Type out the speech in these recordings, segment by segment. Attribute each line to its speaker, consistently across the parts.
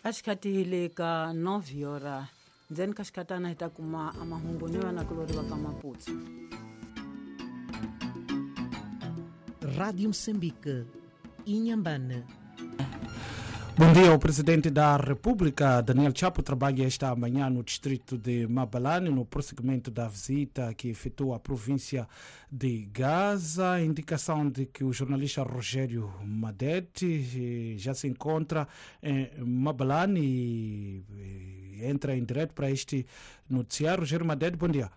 Speaker 1: A xikhathi le ka 9 hora ndzeni ka xikhatana hi ta kuma amahungu ni vanakulori va ka Maputsu.
Speaker 2: Rádio Moçambique, Inhambane.
Speaker 3: Bom dia. O presidente da República, Daniel Chapo, trabalha esta manhã no distrito de Mabalane, no prosseguimento da visita que efetua à província de Gaza. Indicação de que o jornalista Rogério Madete já se encontra em Mabalane e entra em direto para este noticiário. Rogério Madete, bom dia.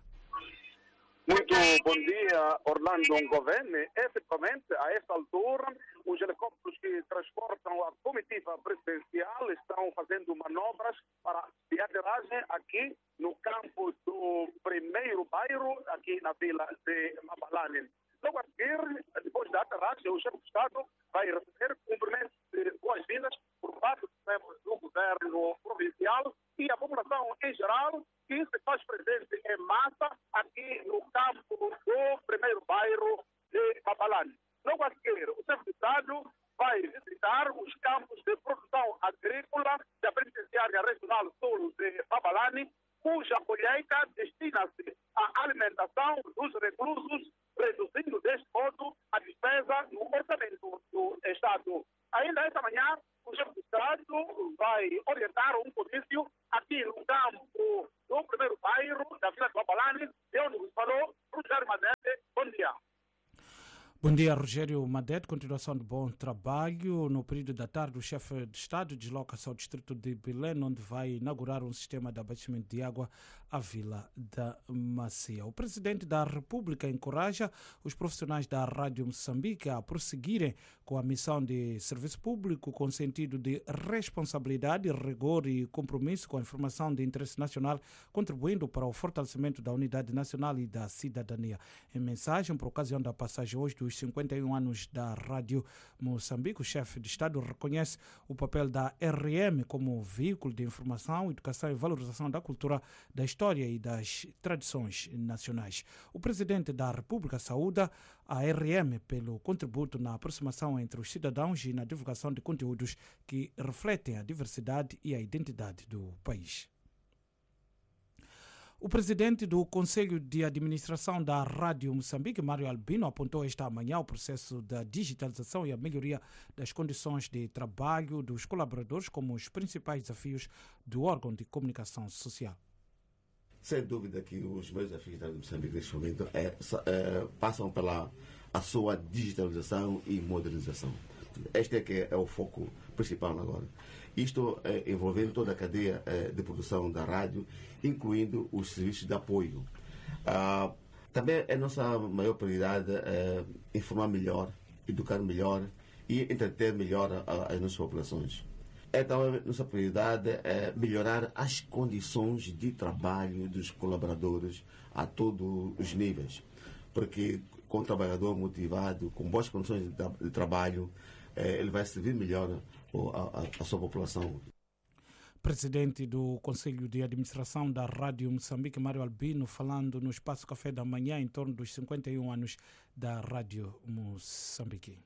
Speaker 4: Muito bom dia, Orlando Ngovene. Efetivamente, a esta altura, os helicópteros que transportam a comitiva presidencial estão fazendo manobras para de aterragem aqui no campo do primeiro bairro, aqui na vila de Mabalane. Logo a seguir, depois da aterragem, o chefe de Estado vai receber cumprimentos de boas-vindas por parte dos membros do governo provincial e a população em geral, que se faz presente em massa aqui no campo do primeiro bairro de Mabalane. Logo a seguir, o chefe de Estado vai visitar os campos de produção agrícola da Penitenciária Regional Sul de Mabalane, cuja colheita destina-se à alimentação dos reclusos, reduzindo deste modo a despesa no orçamento do Estado. Ainda esta manhã, o chefe de Estado vai orientar um comício aqui no campo do primeiro bairro da Vila de Mabalane, de onde nos falou Rogério Madete. Bom dia.
Speaker 3: Bom dia, Rogério Madete. Continuação de bom trabalho. No período da tarde, o chefe de Estado desloca-se ao distrito de Belém, onde vai inaugurar um sistema de abastecimento de água à Vila da Macia. O presidente da República encoraja os profissionais da Rádio Moçambique a prosseguirem com a missão de serviço público com sentido de responsabilidade, rigor e compromisso com a informação de interesse nacional, contribuindo para o fortalecimento da unidade nacional e da cidadania. Em mensagem por ocasião da passagem hoje dos 51 anos da Rádio Moçambique, o chefe de Estado reconhece o papel da RM como veículo de informação, educação e valorização da cultura, da história e das tradições nacionais. O presidente da República saúda a RM pelo contributo na aproximação entre os cidadãos e na divulgação de conteúdos que refletem a diversidade e a identidade do país. O presidente do Conselho de Administração da Rádio Moçambique, Mário Albino, apontou esta manhã o processo da digitalização e a melhoria das condições de trabalho dos colaboradores como os principais desafios do órgão de comunicação social.
Speaker 5: Sem dúvida que os maiores desafios da Rádio Moçambique neste momento passam pela a sua digitalização e modernização. Este é que é o foco principal agora. Isto envolvendo toda a cadeia de produção da rádio, incluindo os serviços de apoio. Também é nossa maior prioridade informar melhor, educar melhor e entreter melhor as nossas populações. É também nossa prioridade melhorar as condições de trabalho dos colaboradores a todos os níveis, porque com o trabalhador motivado, com boas condições de trabalho, ele vai servir melhor a sua população.
Speaker 3: Presidente do Conselho de Administração da Rádio Moçambique, Mário Albino, falando no Espaço Café da Manhã em torno dos 51 anos da Rádio Moçambique.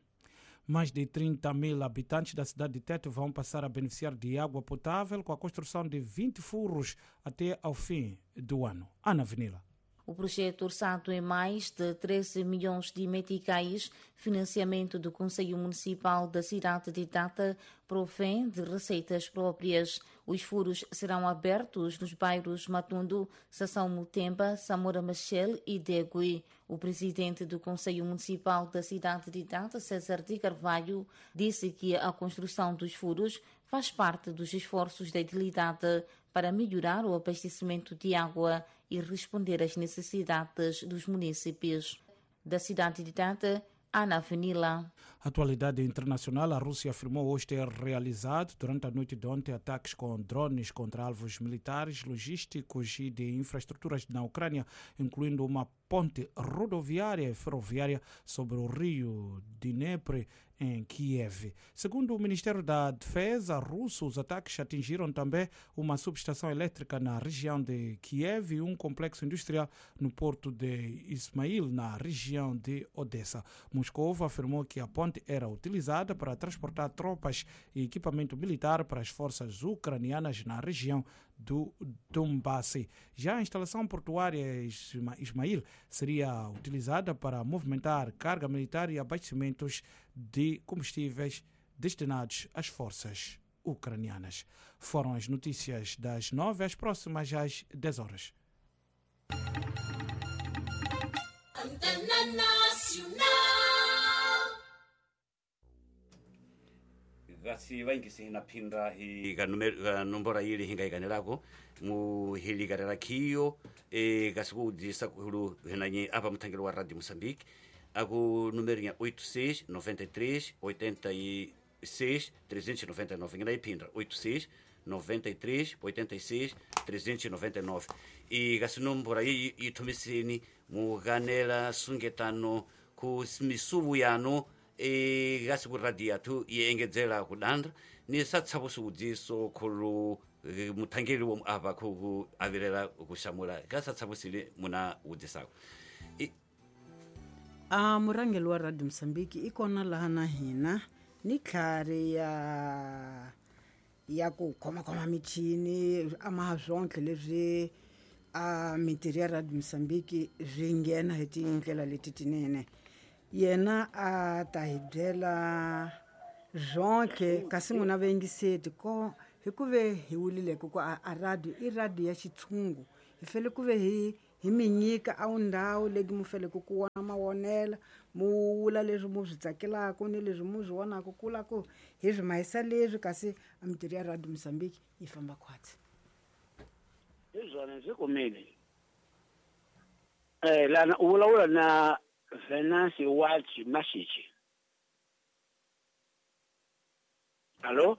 Speaker 3: Mais de 30 mil habitantes da cidade de Tete vão passar a beneficiar de água potável com a construção de 20 furos até ao fim do ano. Ana Venila.
Speaker 6: O projeto orçado em mais de 13 milhões de meticais, financiamento do Conselho Municipal da cidade de Tete, provém de receitas próprias. Os furos serão abertos nos bairros Matundo, Sassão Mutemba, Samora Machel e Degui. O presidente do Conselho Municipal da cidade de Tete, César de Carvalho, disse que a construção dos furos faz parte dos esforços da edilidade para melhorar o abastecimento de água e responder às necessidades dos munícipes. Da cidade de Tete, Ana Venila.
Speaker 3: Atualidade internacional: a Rússia afirmou hoje ter realizado, durante a noite de ontem, ataques com drones contra alvos militares, logísticos e de infraestruturas na Ucrânia, incluindo uma ponte rodoviária e ferroviária sobre o rio Dnepr, em Kiev. Segundo o Ministério da Defesa russo, os ataques atingiram também uma subestação elétrica na região de Kiev e um complexo industrial no porto de Ismail, na região de Odessa. Moscou afirmou que a ponte era utilizada para transportar tropas e equipamento militar para as forças ucranianas na região do Donbass. Já a instalação portuária Ismail seria utilizada para movimentar carga militar e abastecimentos de combustíveis destinados às forças ucranianas. Foram as notícias das 9 às próximas às 10 horas.
Speaker 7: Antena Nacional.
Speaker 8: Gasi vaingisi hina phinda hi ka nombora ili hinga ikanelako muhilikarela khiyo kasi kuudzisa kuhulu hinanye apa muthangelo wa Radio Moçambique aku número ya 86 93 86 399 ngina iphinda 86 93 86 399 e kasi nombora iyi ithumiseni muganela sungetano ku misuvu yanu kasi ku radio yathu iengedzera kudandra ni satsapo siudziso khulu muthangeli womu apa khuku avirela kuxamula kasatsaposile muna wudzisako.
Speaker 1: Murhangeri wa Radio Moçambique i kona laha na hina ni tlhari ya ku khomakhoma michini ama swonke leswi a mintirho ya Radio Moçambique swi nghena hi tindlela leti tinene. Yena a ta hi byela swonke kasi n'wina vayingiseti ko hi ku ve hi wulile ku a radio i radio ya xitshungu hi fele ku ve hi mi nyika a ndhawu leyi mu feleke ku wona mawonela mu wula leswi mu swi tsakelaka ni leswi mu swi vonaka ku la ku hi swi mahisa leswi kasi a mintirho ya Radio Moçambique yi famba khwatsi.
Speaker 9: Hi zwona ndzi kumile lana u vulavula na Venance Watch Mashichi. Allo?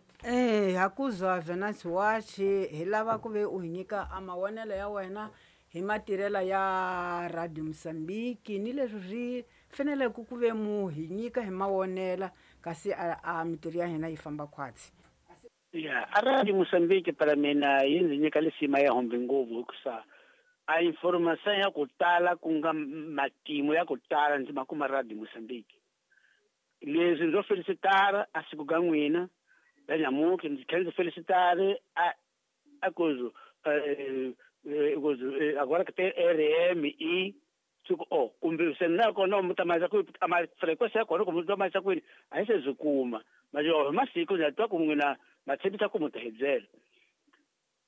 Speaker 1: Hakuzwa Venance Watch hi lava ku ve u hi nyika a mawonelo ya wena hi matirhelo ya Radio Moçambique ni leswi swi faneleke ku ve mu hi nyika hi mawonela kasi a mintirho ya hina yi famba khwatsi.
Speaker 9: Ya, a Radio Moçambique para mina yi ndzi nyika lisima ya hombe ngopfu hikusa a informação ya ku tala ku nga matimu ya ku tala ndzi ma kuma Radio Moçambique. Leswi ndzo felicitar a siku ka n'wina la nyamuki ndzi tlhela ndzi felicitar a kuzu agora que tem RMI oh kumbe se na kona mutamasa ku ama frequência ya kona kumbe mutamasa ku a yi se byi kuma mas yo masiku ndza twa ku n'wina ma tshembisa ku mu ta hi byela.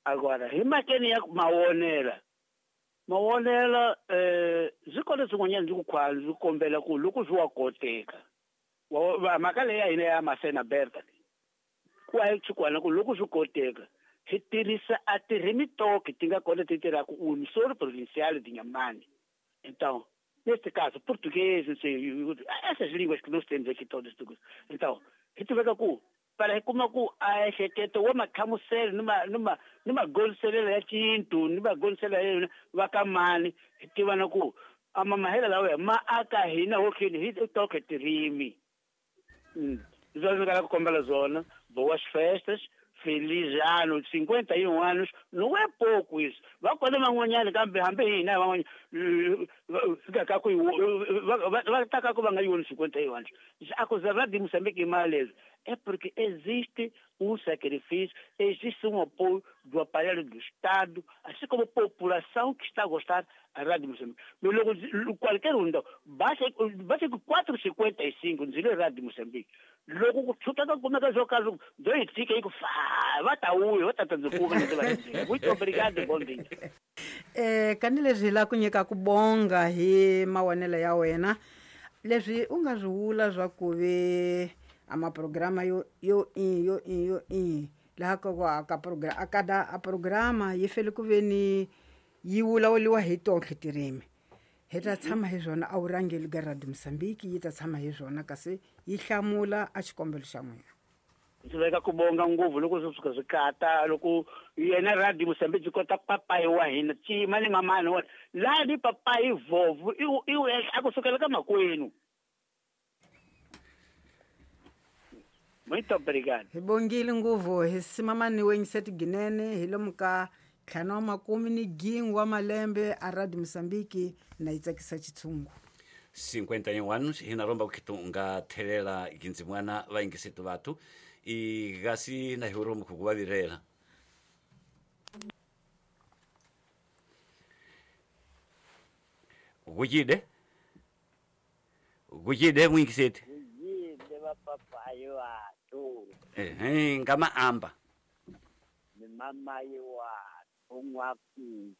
Speaker 9: Agora hi makeni ya mawonela byi kona swin'wanyana ndzi ku khwala ndzi kombela ku loko swi wa koteka mhaka leyi ya hina ya Masena Berta ku a yi tshikwana ku loko swi koteka hi tirhisa a tirhimitoki ti nga kona ti tirhaka unisoro provincial de Inhambane. Então, neste caso, português, não sei, essas línguas que nós temos aqui todas. Então, a gente vai com para como ku a ehleketo wa makhamuselo ni magonselelo ya xintu ni magonselelo va ka mani hi tiva na ku ama mahela lawa ma aka hina hokhini hi toke tirimi. Zwona nga ku kombela zona, boas festas, feliz ano, 51 anos, não é pouco isso. Vai quando man'wanyana kambe hambi hina van'wanyana fika ka ku va ta ka ku va nga yoni 51 anos. A coisa lá de Moçambique maleza é porque existe um sacrifício, existe um apoio do aparelho do Estado, assim como a população que está a gostar da Rádio Moçambique. Mas logo, qualquer um, então, basta que 4,55 dizer Rádio Moçambique. Logo, como é que eu caso, dois ticas aí, vai tá ui, vai tá Muito obrigado, bom dia.
Speaker 1: Kanileswi la ku nyika ku bonga hi mawonelo ya wena leswi u nga swi vula swa ku ve ama programa yo laha ka ku aka programa akada a programa yi fele ku ve ni yi vulavuriwa hi tonke tirimi hi ta tshama hi swona a wu rhangeli ka Radio Moçambique yi ta tshama hi swona kasi yi hlamula a xikombelo xa n'wina.
Speaker 9: Ndzi veka ku bonga ngopfu loko swi suka swi kata loko yena Radio Mozambique byi kota papayi wa hina cima ni mamani wa laha ni papayi vovu i a ku sukela ka makwenu. Muito obrigado.
Speaker 1: Hi bongile nguvu hi simamani wenyiseti ginene hi lomu ka 51 wa malembe a Radio Mozambique na yi tsakisa xitshungu.
Speaker 8: 51 anos hina romba kukhitu nga thelela ginzimwana vaingisetu vathu i gasi na hiromu kukuvavirela. Gujide gujide mwingiseti
Speaker 10: gujide vapapayi vathu
Speaker 8: ngama amba
Speaker 10: ni mamayi wathu n'waku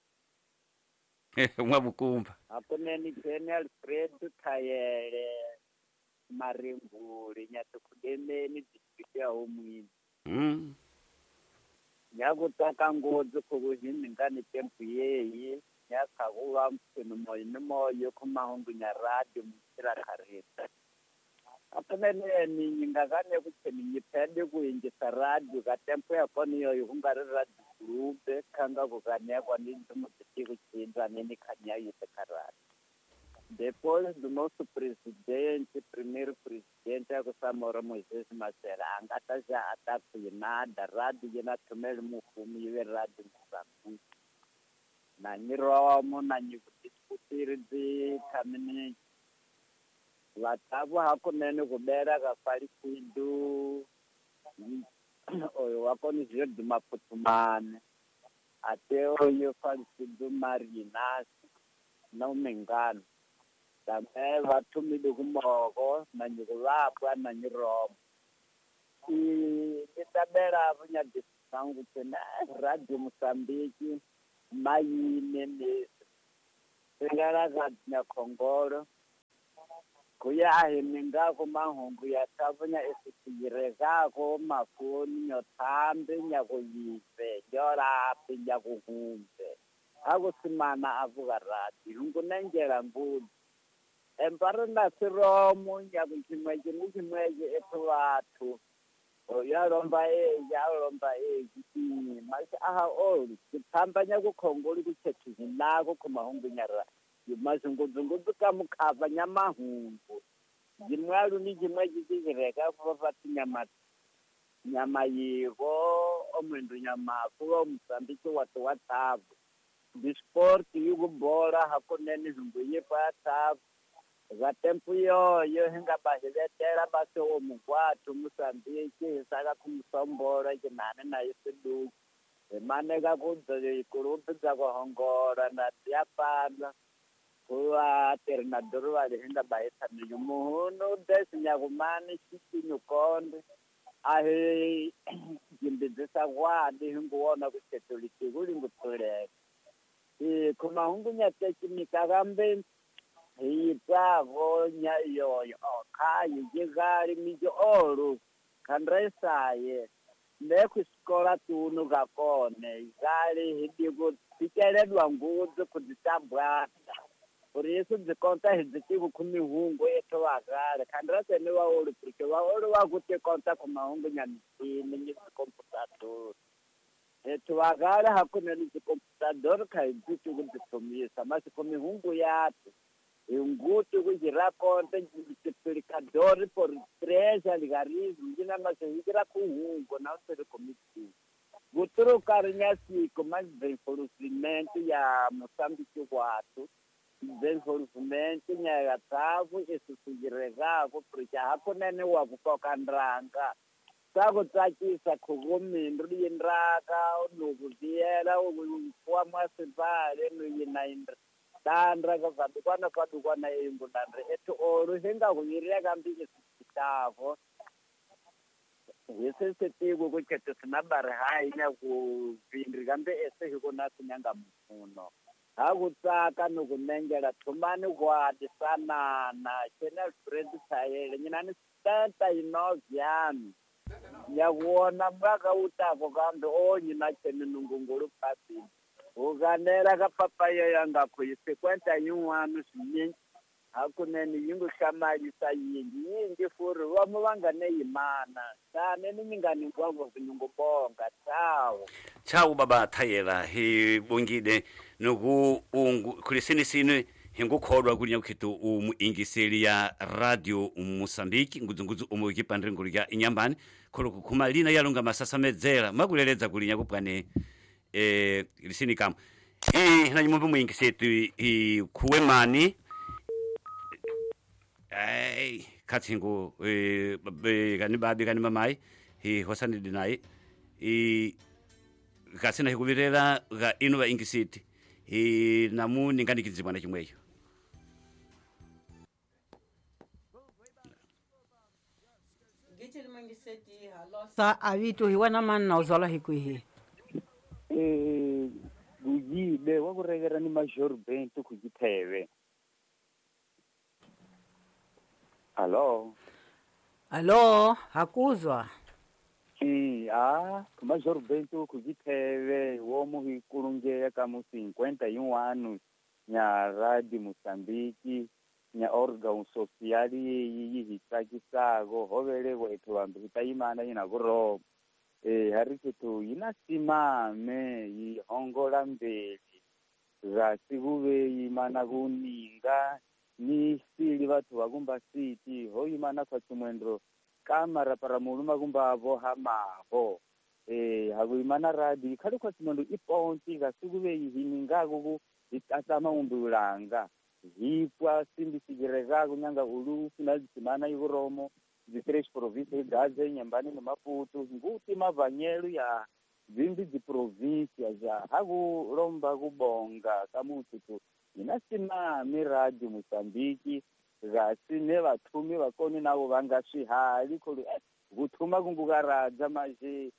Speaker 8: n'wavukumba
Speaker 10: hakunene Jane Alfred Thayele Marimbuli Nyatukudemeni district ya Homwini. Nyakutsaka ngopfu ku hiningani tempu yeyi nyakhakuva mpfuni moyo ni moyo khumahungu nya radio mutshila kharita. Hakunene ni nyingakane ku tsheni nyiphende ku yingisa radio ka tempo ya kona yoyo ku nga ri radio group khanga ku kanya kwa ni ndzi ku chinda ni khanya yise ka radio. Depois do nosso presidente, primeiro presidente, a Samora Moisés Machel, a nga ta xa a ta nada radio yena thumele mufumi yi ve radio Mozambique. Na nyiromo na nyivutiskutiri byi tshamini vathavu hakunene ku bela ka falisidu oyo wa kona zwi duma phuthumane ate oyo falisidu marinasi na umengano tambe va thumile ku moko na nyikuvapwa na nyiromo i tabela vunyadisangu tsena Radio Mozambique mayine mesi singala ka nyakhongolo kuya ahiminga mahungu ya thavunya esisiyirezako mafoni nyothambe nyakuyive nyorapi nyakuhumbe akusimana avuka radio hungunenjela ngudzi empari na siromo nyakuchimweche ni chimweche ethu vathu yalomba eyi yalomba eyi masi aha olu kuthamba nyakukhongoli kuthethihi nako khumahungu nyara mazunguzunguzu ka mukhava nyamahungu jimwalu ni jimwe jijireka kuva vati nyama yivo omwendo nyamafu wa Mozambique watu wa thavu disport yukubola hakunene zungu yipa ya thavu vatempu yoyo hinga bahivetela basi omukwathu Mozambique hisaka kumusombola jinane nayo siduki himaneka kudza ikulupi dza kuhongola na tiyapana kuva terinadoro vali hinga bahithamile muhunu desinyakumani xicinyu konde ahi jimbidzisa kwadi hinguwona kuchetulitiku lingutuleka khumahungu nyatecimika kambe hiyitsavo yoyo okhayi jikali mijo olu khandresaye nekhwisikola tunu kakone ikali hidiku ticeledwa ngudzi khudzitambwata por isso byi konta hi byi tivi ku mihungu ethu vakale khandiraseni vaolu porque vaolu va ku ti konta ku mahungu nya michini ni tikomputador ethu vakale hakunene tikomputador kha hi byi tivi ku byi thomisa masi ku mihungu yathu hinguti ku jira konta multiplicador por 3 algarismo yina masi hi jira ku hungu na seri komiti guturuka ri nya siku mas desenvolvimento ya Moçambique kwathu desenvolvimento nya thavu esisuyirekako porque hakunene wa ku koka ndraka swa ku tsakisa khukumindru yindraka nuku viyela wa mwasibale nuyina tandra ka vadukwana vadukwana eyingulandre ethu olu hinga ku yireka mbi esisitavo hisisitiku ku khethu sinabari hayi nya ku vindri kambe ese hikona sinyanga muno hakutsaka nukunengela thumani kwati sanana chena Alfred Thayele nyinani 79 yami nyakuwona mwaka utako kambe onyina chene nungungulu phasini ukanela ka papaya yangakho yi 51 swinyingi Hakunene yi ngu hlamarisa yingi yingi furi vomu va nga ne yimana tane ni nga ni ngwango nyungubonga tsawo
Speaker 8: Tchau baba Thayela hi bongile nuku ungu kulisini sinu hingukholwa kulinya kukhitu umu ingiseli ya Radio Mosambiki ngudzungudzu umu ikipandre ngulu ya Inyambani kholo kukhuma lina yalunga masasamedzera makuleledza kulinya kupwane lisini kama na nyimbo muingisetu khuwe mani ai kathingo kani babi kani mamai hi hosani dinai kasina hikuvirela ga inu va ingisiti hi namu ninganikidzibwana chimweyo.
Speaker 1: Sa avito hi wena mani na uzwala hi kwihi?
Speaker 11: Gujide wa kurekera ni Major Bento kujitheve. Hello.
Speaker 1: Hello, hakuzwa.
Speaker 11: Major Bento kujitheve womu hikulungeya ka mu 51 nya Radio Mozambique nya órgão social yi hi tsakisago hovele wethu vantu hi ta yimana yina vuroma hari kithu yina simame yi hongola mbeli gasi kuve yimana kuninga ni sili vathu vakumba siti ho yimana kwa chimwendo kamara para muluma kumba avo hamaho hakuyimana radi ikhali kwa chimwendo iponti gasi kuve yihiningaku ku itatsama umbiulanga hipwa simbi sigereka kunyanga ulu funa zimana ivuromo zitrês províncias Gaza Inhambane no Maputo nguti mavanyelo ya zimbi ziprovíncia já hakulomba kubonga kamutu inasimame Radio Mozambique gasi ne vathumi vakoni navo vanga swihali khulu kuthuma kungukaradza maje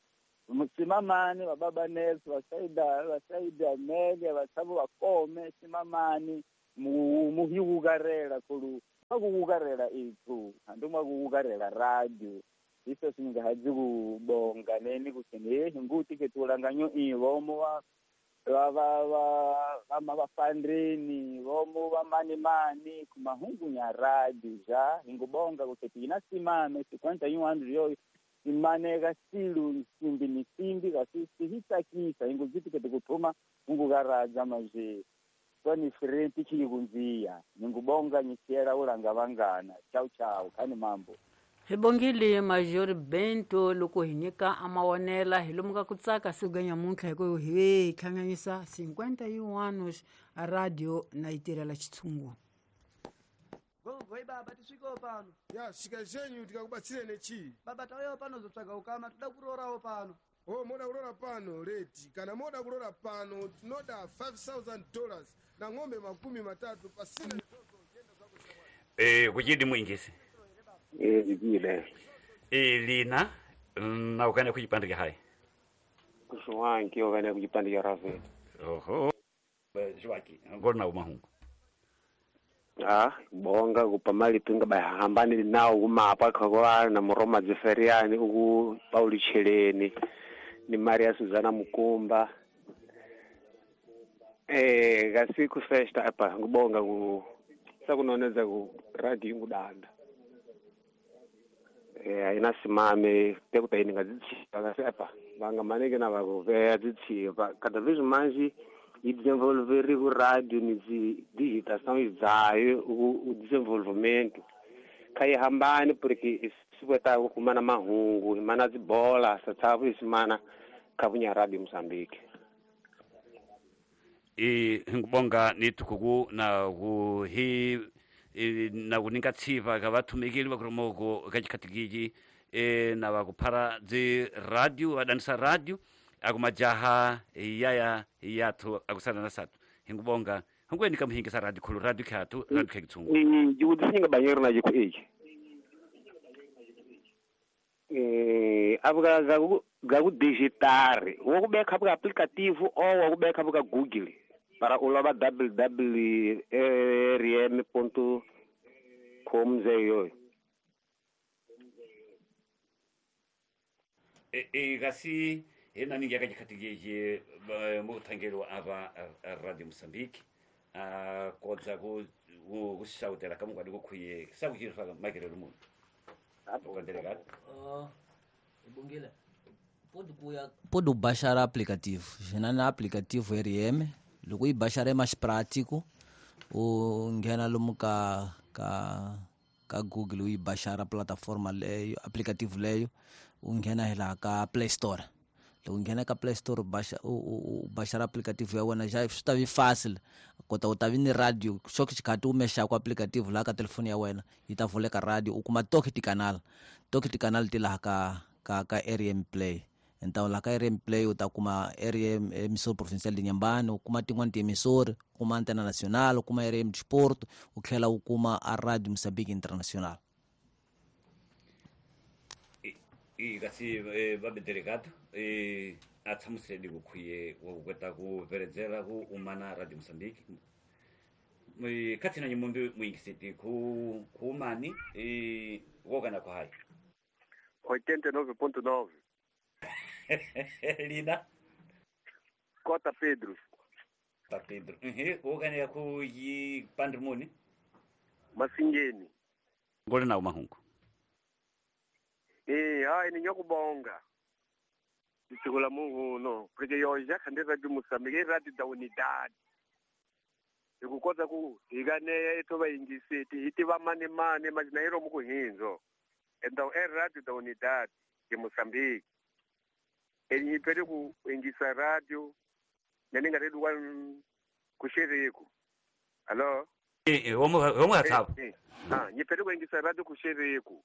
Speaker 11: simamani vababa Nelson vasaida Amelia vatsavo vakome simamani muhiwukarela khulu makuwukarela ithu handu mwakuwukarela radio iso singahazi kubonga neni kuthini nguti kethulanganyo ivomo va vafandrini vomo va manimani kumahungu nya radio ja hingubonga kuthi ina simame 51 yoyo imaneka silu simbi ni simbi kasi sihitsakisa hinguziti kete kuthuma hungukaradza maje kwani frenti chiyikunziya ningubonga nyisiela ulanga vangana chau chau khani mambo.
Speaker 1: Hi bongile Major Bento loko hi nyika amawonela hi lomuka ku tsaka siku ga nyamuntlha hi ku hi hlanganyisa 51 a radio na yi tirhela xitshungu.
Speaker 12: Gogoi baba tisvikewo pano.
Speaker 13: Ya svika zvenyu tikakubatsirene chii?
Speaker 12: Baba tauyawo pano zotsvaga ukama toda kurorawo pano.
Speaker 13: Oh, moda kurora pano reti kana moda kurora pano tinoda $5,000 na ng'ombe 30 pasina.
Speaker 8: Kuchidi muingisi.
Speaker 14: Zikile.
Speaker 8: Lina na ukane kujipandika hai.
Speaker 14: Kushwanki ukane kujipandika Rafael.
Speaker 8: Oho. Shwaki ngona umahungu.
Speaker 14: Bonga kupamali pinga bahambani nawo kumapa khakwa na Muroma Zeferiani uku Pauli Cheleni ni Maria Suzana Mukumba. Gasiku festa apa ngubonga ku sakunoneza ku radio ngudanda. Aina simame tekuta ngadzitshiva kasi apa vanga maneke na vakuveya dzitshiva cada vez mais e desenvolver o rádio ni digitação idzayo o desenvolvimento kai hambani porque sibweta kumana mahungu imana dzibola satsavu isimana kabunya Radio Mozambique.
Speaker 8: Ngibonga nitukuku na kuhi na kuninga tsiva ka vathumikeli vakuromoko ka chikhatikiji na vakuphara dzi radio vadanisa radio akumajaha yaya yathu akusana na satu hingubonga hingweni kamuhingisa radio khulu radio khathu radio khekitsungu
Speaker 14: jikudzisinga banyero na jiku iki abuka gaku digitari wokubeka buka aplicativo ou wokubeka buka Google para ulova www.rm.com zeyo.
Speaker 8: Gasi ena ningi akachikhatikije muthangelo apa Radio Mozambique kodza ku Kuxawutela ka munghwadi ku khuye sakuchirifaka makerelo munhu ukandelekati.
Speaker 15: Ibongile pode baixar aplicativo xina na aplicativo RM loko yi baixar é mais prático u nghena lomu ka ka ka Google u yi baixar a plataforma leyo aplicativo leyo u nghena hi laha ka Play Store. Loko u nghena ka Play Store u baixar aplicativo ya wena já swi ta vi fácil kota u ta vi ni radio xo xikhathi u mexaku aplicativo laha ka telefoni ya wena yi ta vuleka radio u kuma toke tikanal ti laha ka RM Play. Então laha ka RM Play u ta kuma RM emissora provincial de Inhambane, u kuma tin'wani tiemissora, u kuma Antena Nacional, u kuma RM Desporto, u tlhela u kuma a Radio Moçambique Internacional.
Speaker 8: Kasi vabe delegado a tshamuseli ku khuye wa ku kota ku veredzela ku umana Radio Moçambique khathina nyimumbi muyingiseti ku kumani wokana ku hayi
Speaker 16: 89.9
Speaker 8: Lina
Speaker 16: Cota Pedro.
Speaker 8: Ta Pedro. Wokana ku yi pandrimoni
Speaker 16: Masingeni.
Speaker 8: Ngole na mahungu.
Speaker 16: Hayi ni nyokubonga. Nditsukula Mungu no, porque yo já khande Radio Moçambique radio da unidade. Hikukota ku hikaneya etho vayingiseti hi tiva mani mani majina yi lomu ku hindzo. Então é radio da unidade de Moçambique. Enyipele ku ingisa radio nani nga redu wan kusheriku. Allo?
Speaker 8: Womo hatsaba.
Speaker 16: Nyipele ku ingisa radio kusheriku.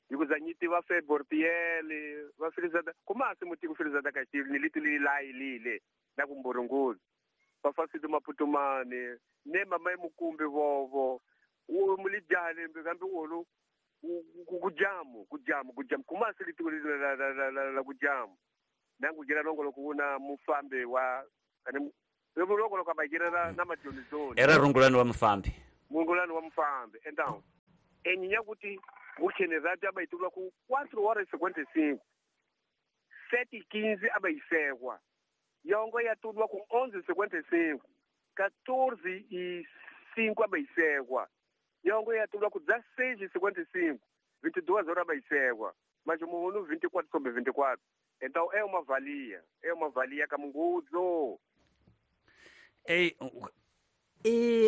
Speaker 16: Yikuzanyiti va fe bortiele va filizada kumasi muti ku filizada ka xili ni liti li layilile na ku mburunguzi va fasidi maputumane ne mama emukumbi vovo u mulijale mbe kambe olu kujamu kumasi liti la kujamu nangu jira longolo kuuna mufambe wa kane longolo ka bajira na majonizoni
Speaker 8: era rungulani wa mufambe
Speaker 16: mungulani wa mufambe então enyinya kuti kukhene radio abayitulwa ku 4h55 7h15 abayisekwa yongo yatulwa ku 11h55 14h05 abayisekwa yongo yatulwa ku 16h55 22h abayisekwa mas muhunu 24 sobre 24. Então é uma valia kamungudzo.
Speaker 8: Ei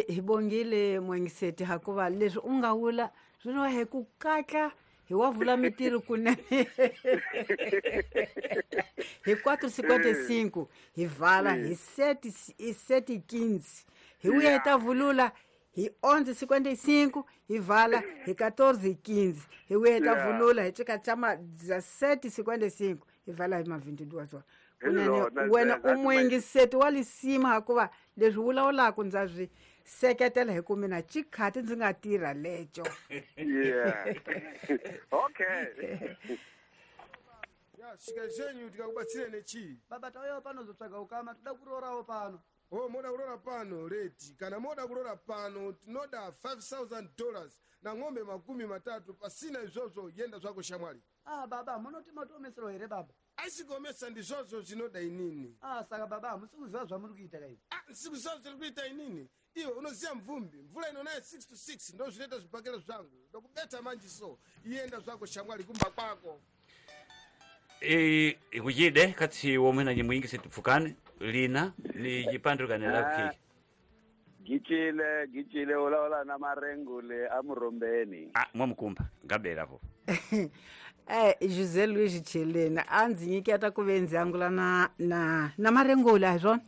Speaker 1: hi bongile mwengiseti hakuva leswi u nga vula swi no he ku katla hi wa vula mitirho kunene hi 4:55 hi vala hi 7:15 hi vuya hi ta vulula hi 11:55 hi vala hi 14:15 hi vuya hi ta vulula hi cika chama 17:55 hi vala hi ma 22 kunene wena u muingiseti wa lisima hakuva leswi vulavulaka ndza swi seketela hi ku mina chikhati ndzi nga tirha leco.
Speaker 16: Yeah. Okay.
Speaker 13: Ya shika zenyu tikakubatsire nechi.
Speaker 12: Baba tauya pano zotsvaga ukama toda kurorawo pano.
Speaker 13: Oh, moda kulora pano reti kana moda kulora pano tinoda $5,000 na ng'ombe 30 pasina izvozvo yenda zvako shamwari.
Speaker 12: Baba munoti matoomesero here baba?
Speaker 13: Aisigomesa ndizvozvo zvinoda inini.
Speaker 12: Saka baba musikuziva zvamuri kuita kaizvi.
Speaker 13: Sikuziva zviri kuita inini. Iwe unoziva mvumbi mvula inonaye 6 to 6 ndo zvinoita zvibhakera zvangu ndokubeta manje so yenda zvako shamwari kumba kwako.
Speaker 8: Ikujide katsi womwena nyimwingi setipfukane lina ni jipandukane lakhi.
Speaker 10: Gichile ola na marengule amurombeni.
Speaker 8: Mwamukumba ngabela po.
Speaker 1: José Luiz Chelena a ndzi nyiketa ku ve ndzi angula na marengule a hi swona?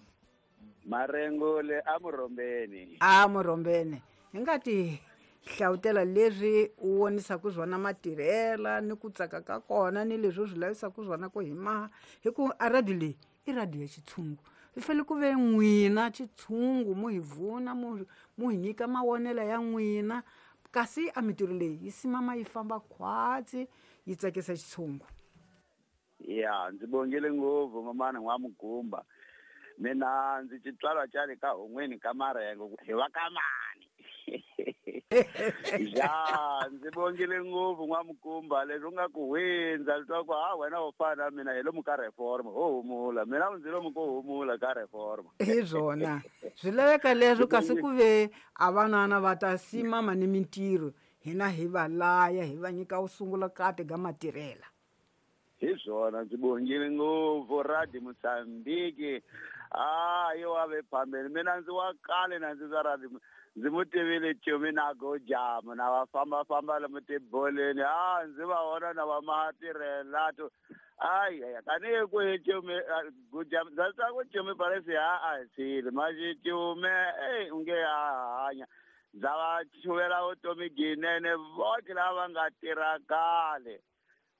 Speaker 10: Marengule amurombeni.
Speaker 1: Amurombeni. Hi nga ti hlawutela leswi u vonisaka swona matirhela ni ku tsaka ka kona ni leswi u swi lavisaka swona ku hi maha hi ku a radio leyi i radio ya xitshungu swi fanele ku ve n'wina xitshungu mu hi vuna mu hi nyika mavonelo ya n'wina kasi a mitirho leyi yi simama yi famba khwatsi yi tsakisa xitshungu.
Speaker 10: Ya ndzi bongile ngopfu mamana n'wamugumba mina ndzi xitswalwa xa le ka hon'weni ka marengo hi va ka mani.
Speaker 11: Ja, ndzi vongile ngopfu n'wamukumba leswi u nga ku hundza leswaku ha wena u fana na mina hi lomu ka reform ho humula mina ndzi lomu ko humula ka reform.
Speaker 1: Hi swona swi laveka leswo, kasi ku ve a vanana va ta simama ni mintirho hina hi va laya hi va nyika wu sungula kati ga matirhela.
Speaker 11: Hi swona, ndzi bongile ngopfu Radio Mozambique. A yo wa ve phambeni, mina ndzi wa kale na ndzi za Radio, ndzi mu tivile Chumi na Gojamu na va fambafamba lomu tiboleni, a ndzi va vona na va matirhela to ayi tanihi ku hi Chumi Gojamu ndza twa ku Chumi paresi ha a hi tshile maxi Chumi ey u nge a hanya ndza va chuvela vutomi ginene votlhe lava nga tirha kale.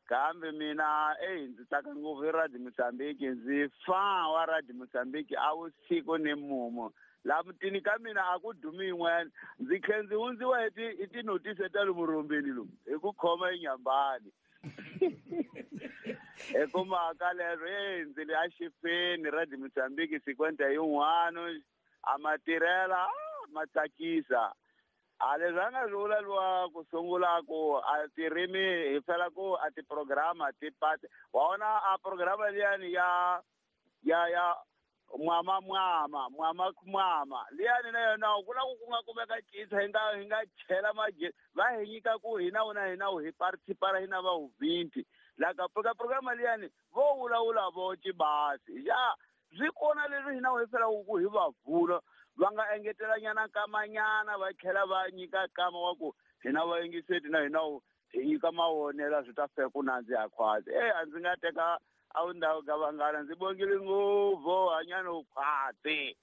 Speaker 11: Kambe mina ey ndzi tsaka ngopfu hi Radio Mozambique, ndzi fa wa Radio Mozambique a vusiku ni mumu laha mutini ka mina a ku dumi yin'wana, ndzi tlhe ndzi hundziwa hi tinotisi ta lomu rombeni lomu hi ku khoma enyambani. Hi ku mhaka lero ey ndzi le axifeni Radio Mozambique sikwenta yin'wana a matirhela ma tsakisa. A leswi a nga swi vula luwa ku sungula ku a tirimi hi fela ku a tiprograma ti pati wa vona a programa liyani ya ya ya mwama mwama mwama mwama liyani na yona ku na ku nga kumeka cinca hi nga chela maje va hi nyika ku hina wona hina hi participate hina va 20 la ka programa liyani vo vulavula vo cibasi ya swi kona leswi hina hi fela ku hi va vula va nga engetelanyana kamanyana va tlhela va nyika kama wa ku hina va yingiseti na hina hi nyika mavonelo swi ta fika ku nandziha khwatsi. A ndzi nga teka a wu ndhawu ka vanghana, ndzi bongile ngopfu hanyana u khwatsi.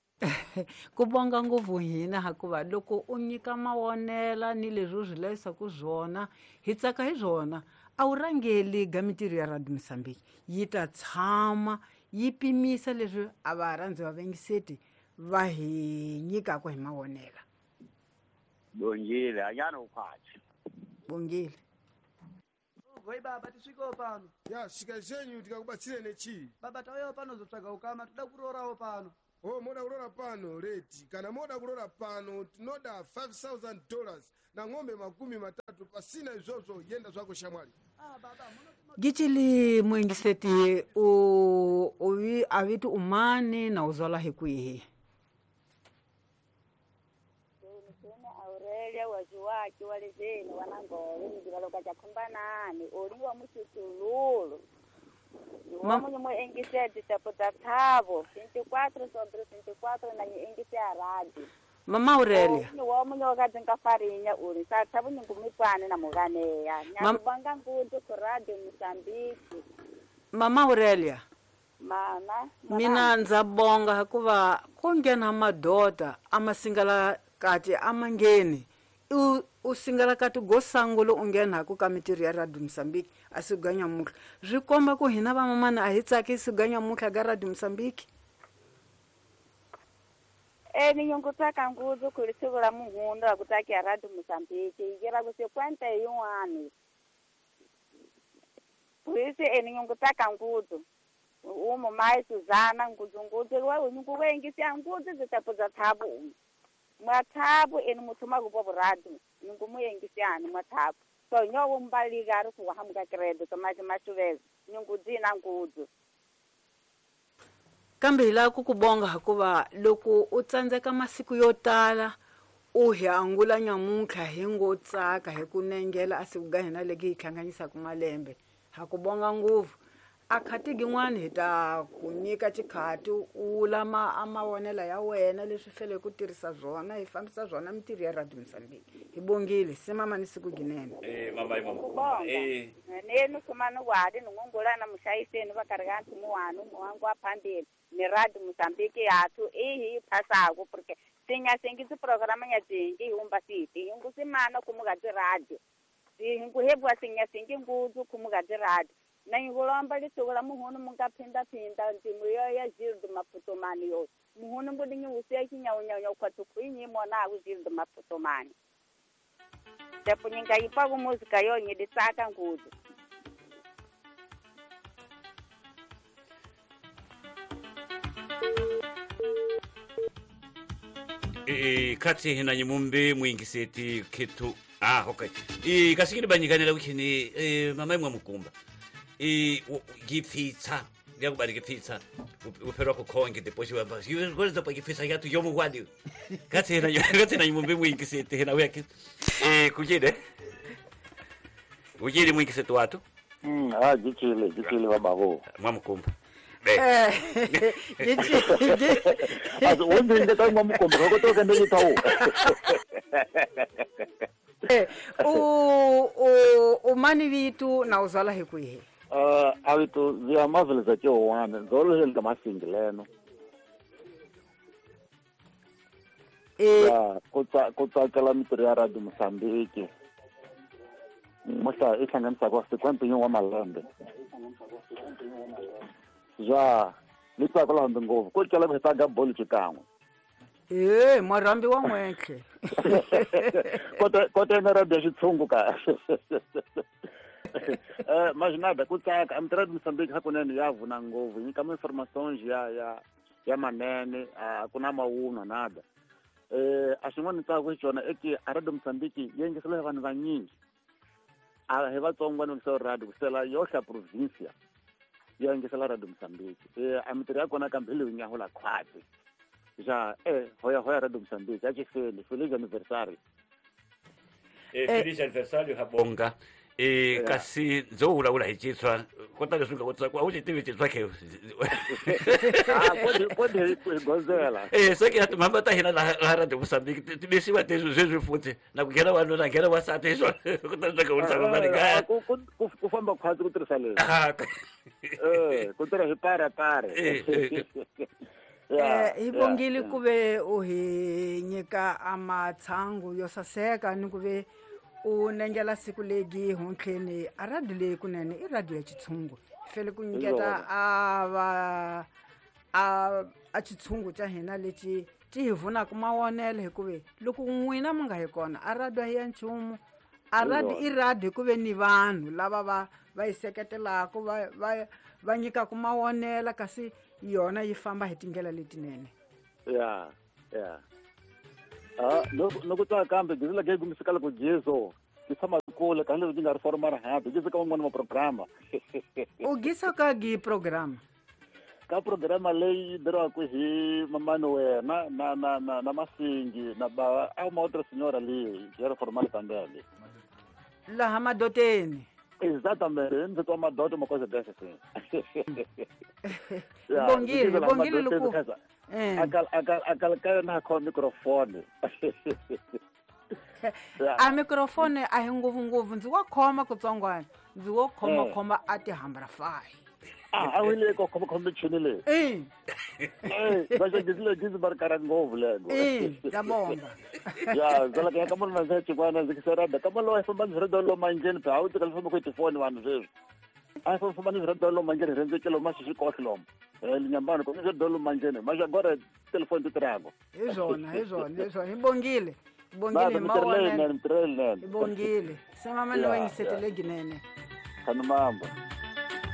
Speaker 1: Ku bonga ngopfu hina hikuva loko u nyika mavonela ni leswi u swi layisaku swona hi tsaka hi swona. A wu rhangeli ga mintirho ya Radio Mozambique yi ta tshama yi pimisa leswi a va rhandzi va vengiseti va hi nyikaka hi mavonela.
Speaker 11: Bongile hanyana u khwatsi.
Speaker 1: Bongile.
Speaker 12: Goi baba tisvikewo pano.
Speaker 13: Ya svika zvenyu tikakubatsire nechii?
Speaker 12: Baba tauyawo pano zotsvaga ukama toda kurorawo pano.
Speaker 13: Oh, moda kurora pano reti kana moda kurora pano tinoda $5,000 na ng'ombe 30 pasina izvozvo yenda zvako shamwari.
Speaker 1: Gicili muingiseti u aviti umani na uzwala hi kwihi?
Speaker 17: Aurelia waziwaki walezeni wanangole ndivaloka chakhumbanani oliwa muchutululu niwamunye muengiseti taputa thavo 24 sobre 24 na nyiengise ya radio.
Speaker 1: Mama Aurelia
Speaker 17: niwamunye wakadzinga farinya uri sathavu ningumipwane na muganeya nyakubanga ngundu ku Radio Mozambique.
Speaker 1: Mama Aurelia
Speaker 17: mama
Speaker 1: mina ndza bonga hikuva ku nghena madota a masingala kati a mangheni u singala kati go sangulo u nghena ku ka mintirho ya Radio Mozambique a siku ga nyamutlha swi komba ku hina vamamana a hi tsaki siku ga nyamutlha ga Radio Mozambique.
Speaker 17: Ni nyungu tsaka ngudzu ku ri siku ra muhundu ra ku tsakiya Radio Mozambique yi ra ku sikwenta yin'wani puisi ni nyungu tsaka ngudzu umu mai Suzana ngudzu ngudzu wa nyungu wengisiya ngudzu ndzi tapudza thabu mwathabu eni muthuma ku vuradu nyungu muyengisiani mwathabu so nyowo mbalika ri ku hamuka credo tomaji mashuveza nyungu dzina ngudzu.
Speaker 1: Kambe hi lava ku ku bonga hikuva loko u tsandzeka masiku yo tala u hi angula nyamuntlha hi ngo tsaka hi ku nengela a siku ga hina leki hi hlanganisaka malembe ha ku bonga ngopfu. A khati gin'wana hi ta ku nyika xikhati u vula a mavonelo ya wena leswi fele ku tirhisa swona hi fambisa swona mintirho ya Radio Mozambique. Hi bongile simama ni siku ginene.
Speaker 8: Mama mama.
Speaker 17: Nenu sumani wadi ningungulana mushayiseni va karhi ka nthumu wani muwangu wa phambili ni Radio Mozambique yathu ihi phasaku porque sinyasingi tiprograma nya tingi hi humba siti hingu simana kumuka ti radio hingu hebwa sinyasingi ngudzu kumuka ti radio na ngulomba lisukula muhunu munga phinda phinda ndzimu yo ya Gildo Maputomani yo muhunu mbudinyi usiya chinyaunyaunya ukhwathu khwinyi mona aku Gildo Maputomani tepo nyinga yipa ku muzika yo nyiditsaka ngudzu.
Speaker 8: Khatsi hina nyimumbe muingiseti khethu. Okay. Kasikini banyikanela kukhini mama imwe mukumba. Gipfitsa. Yakubali gipfitsa. Uphelwa kukhonke depois wamba. Yikwenza pa gipfitsa yathu yomukwadi. Khatsi hina nyimumbe muingiseti hina uyakhe. Kujide. Ujile muingiseti wathu.
Speaker 18: Gitshile bababo.
Speaker 8: Mwamukumba.
Speaker 1: Umani vitu na uzala hi kwihi?
Speaker 18: Avitu vya maveleza tyowana ndzolo ka masingileno. Ku tsakela mintirho ya Radio Mozambique. Muhla i hlanganisaka 51 wa malembe. Ja, ni tsakela hambi ngopfu ku cela ku hi tlanga bolo xikan'we.
Speaker 1: Marhambi wa n'wetlhe.
Speaker 18: Kota na radio ya xitshungu kahle. Majinada ku tsaka a Radio Mozambique hakunene ya vuna ngopfu nyika ma-informations ya manene a ku na mawunwa nada. A xin'wana ni tsaka hi xona i ki a Radio Mozambique yi yingisela hi vanhu vanyingi. A hi vatsongo va yingisela radio kusela yohla provincia ya yingisela Radio Mozambique. A mintirho ya kona kambe hi leyi nyahula khwati. Ja, hoya Radio Mozambique a xifeli feliz aniversário.
Speaker 8: Feliz aniversário habonga. Kasi ndzo vulavula hi Xitswa kota leswi nga kotisa ku a wu xi tivi Xitswa ke.
Speaker 18: Kodi hi gozela.
Speaker 8: Se ke timhamba ta hina laha Radio Mozambique ti bisiwa sweswi futhi na ku nghena wanuna nghena wansati hi swona kota leswi nga vurisa mani ka
Speaker 18: ku famba khwatsi ku tirhisa leswi. Ku tirha hi pare pare.
Speaker 1: Hi bongile ku ve u hi nyika amatshangu yo saseka ni ku ve u nengela siku legi hontlheni a radio leyi kunene i radio ya xitshungu fele ku nyiketa a xitshungu xa hina lexi ti hi vunaka mawonelo hikuva loko n'wina mi nga hi kona a radio a hi ya nchumu. A radio i radio hikuve ni vanhu lava va yi seketelaka va nyikaka mawonela kasi yona yi famba hi tindlela letinene.
Speaker 18: Ya. Loko tsaka kambe gizila ke gumisika loko Jesu ti tshama kule ka leswi nga ri formal happy gizika ka van'wana ma programa.
Speaker 1: U gisa ka gi programa?
Speaker 18: Ka programa leyi dirwaka hi mamani wena na Masingi na ba a uma outra senhora ali ya ri formal também.
Speaker 1: Laha madoteni.
Speaker 18: Exatamente, ndzi twa madoto uma coisa dessa assim.
Speaker 1: Bongile loko.
Speaker 18: Akal na kho microphone.
Speaker 1: A microphone a hi ngopfu ndzi wa khoma kutsongwana ndzi wo khoma a tihambra fayi.
Speaker 18: A wile ko khoma michini leyi. Va xi gizi bar kara ngopfu lego.
Speaker 1: Ndza
Speaker 18: Ya, zala ka ka munhu ndzi xikwana ndzi kisera ka malo famba ndzi ri dolo manjeni pa wu tika famba ku tifoni vanhu sweswi. A famba ndzi ri dolo manjeni rhendze kilo ma xi kohlo. Linyambano ko ndzi dolo manjeni ma agora telefone ti tirhako.
Speaker 1: Hi swona hi bongile. Bongile mawona.
Speaker 18: Hi
Speaker 1: bongile. Sama mani wa ngisetele ginene.
Speaker 18: Khanumamba.